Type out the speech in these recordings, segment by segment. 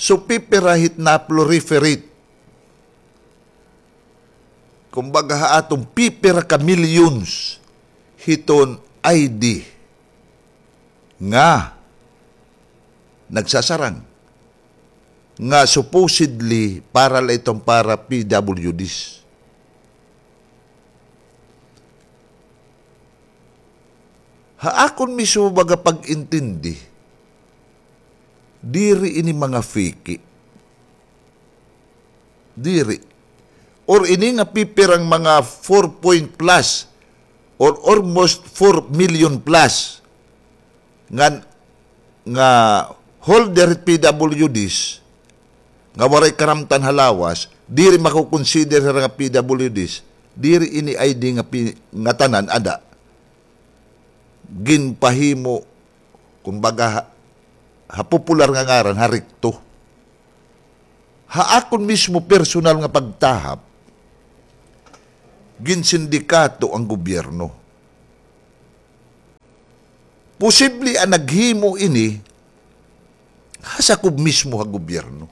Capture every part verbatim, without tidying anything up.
So, pipira hit na-proliferate. Kumbaga, ha aton pipira ka millions hiton I D nga nagsasarang, nga supposedly para la iton para P W Ds. Ha akon mismo baga pag-intindi, diri ini mga fake. Diri. Or ini nga pipirang mga four point plus or almost four million plus nga, nga holder hit P W Ds nga waray karamtan ha lawas, diri mako-consider hira nga P W Ds, diri ini I D nga pi-, nga tanan ada. Ginpahimo, kumbaga, ha, ha popular nga ngaran, ha REKTO. Ha akon mismo personal nga pagtahap, ginsindikato an gobyerno. Posible an naghimo ini ha sakob mismo ha gobyerno.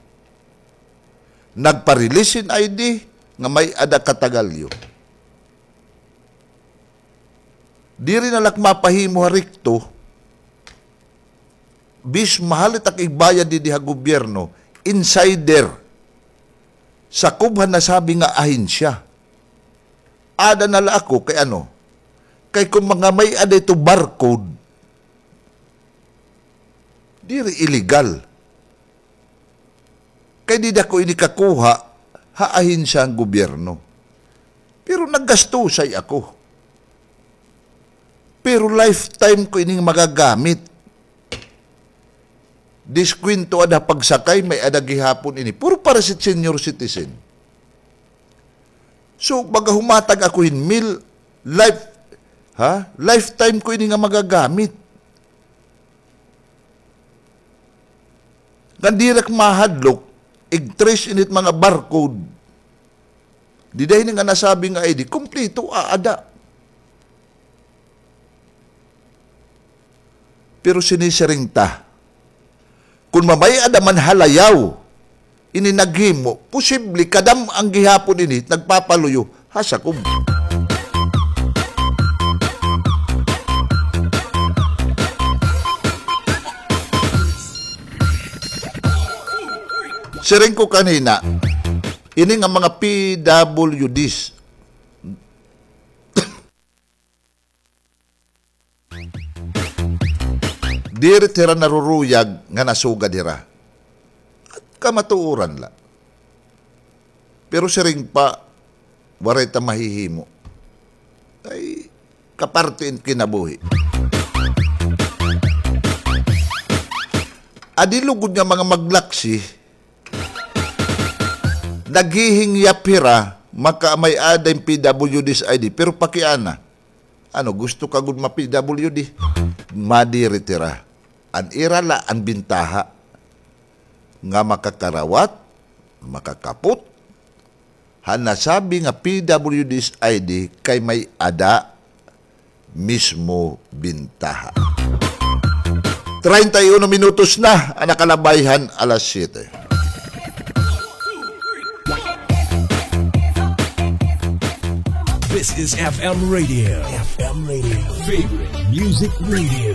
Nagpa-release hin I D nga may-ada katagalyo. Diri na la ak mapahimo ha REKTO, bis mahal it ak igbayad didi ha gobyerno, insider. Sakob han nasabi nga ahensya. Ada na la ako kay ano, kay kon mga may-ada ito barcode, diri illegal. Kay dida ko ini kakuha ha ahensya han gobyerno. Pero naggastusay ako. Pero lifetime ko ini nga magagamit. Diskwento ada ha pagsakay, may-ada gihapon ini. Puro para sa senior citizen. So, baga humatag ako hin meal, life, ha? Lifetime ko ini nga magagamit. Ngan diri ak mahadlok, ig-trace ini hit mga barcode. Dida hini nga nasabi nga I D, kumpleto, aada. Pero sinisiring ta, kon mamay-ada man ha layaw ini naghimo, posible kadam-an gihapon ini nagpapaluyo ha sakob. Siring ko kanina, ini nga mga P W Ds, diri hira naruruyag nga nasugad hira. Kamatuoran la. Pero siring pa, waray ta mahihimo. Ay, kaparte in kinabuhi. Adi lugod nga mga maglaksi, naghihingyap hira, makamay-ada hin P W Ds I D, pero pakiana. Ano, gusto ka gud ma-P W D? Madiri hira. An ira la an bintaha nga makakarawat, makakapot, han nasabi nga P W Ds I D kay may-ada mismo bintaha. Treinta y uno minutos na an nakalabay han alas siyete. This is F M Radio. F M Radio. Favorite Music Radio.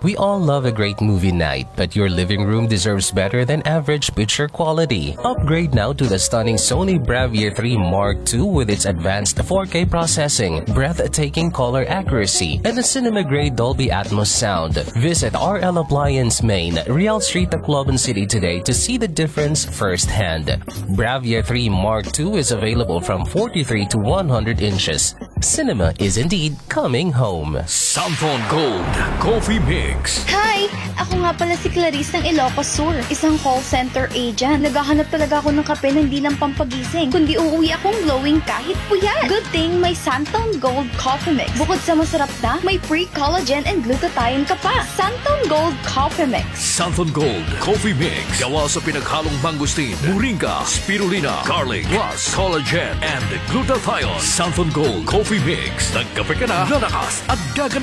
We all love a great movie night, but your living room deserves better than average picture quality. Upgrade now to the stunning Sony Bravia three Mark two with its advanced four K processing, breathtaking color accuracy, and a cinema-grade Dolby Atmos sound. Visit R L Appliance Main, Real Street, Tacloban City today to see the difference firsthand. Bravia three Mark two is available from forty-three to one hundred inches. Cinema is indeed coming home. Santon Gold Coffee Mix. Hi! Ako nga pala si Clarice ng Ilocos Sur, isang call center agent. Naghahanap talaga ako ng kape na hindi lang pampagising, kundi uuwi akong glowing kahit puyat. Good thing may Santon Gold Coffee Mix. Bukod sa masarap na, may pre-collagen and glutathione ka pa. Santon Gold Coffee Mix. Santon Gold Coffee Mix. Gawa sa pinaghalong mangosteen, moringa, spirulina, garlic, plus collagen and glutathione. Santon Gold Coffee Mix. Nagkape ka na, lalakas at gaganda